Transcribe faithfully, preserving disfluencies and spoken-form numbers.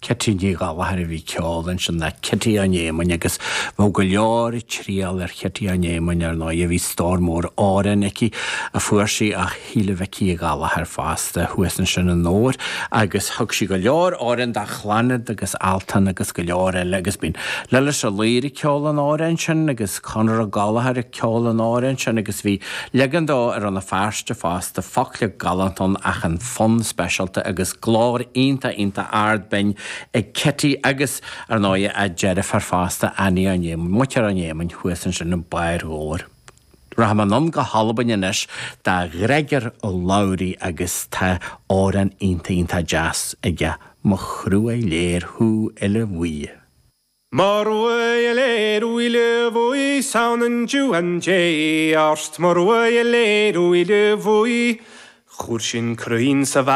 Cití Ní Ghallchóir a bhí ag ceol ansin le Cití an Éamainn agus bheadh go leor ag triall ar Chití an Éamainn ar ndóigh bhí stór mór amhrán aici a fuair sí ó Shíle Mhicí Uí Ghallchóir fosta thuas ansin i nDobhar agus thug sí go leor amhrán dá Chlannad agus Altan agus go leor eile agus bíonn Lillis Ó Laoire ag ceol an amhráin sin agus Conor Ó Gallchóir ag ceol an amhráin sin agus bhí leagan dó ar Rann na Feirste fosta focla galánta ann ach an fonn speisialta agus glór iontach iontach ard binn ag Kitty agus ar ndóigh a deirfiúr fosta Annie an Éamainn, muintir an Éamainn thuas ansin i mbarr Dhobhair. Rachaidh mé anonn go hAlbain anois do Ghreigor Ó Labhraí agus tá amhrán iontach iontach deas aige mo thruailléir thú uile bhuí. Mo thruailléir uile bhuí samhnain juan dé ort mo thruailléir uile bhuí, Chuir sin cruinn sa bha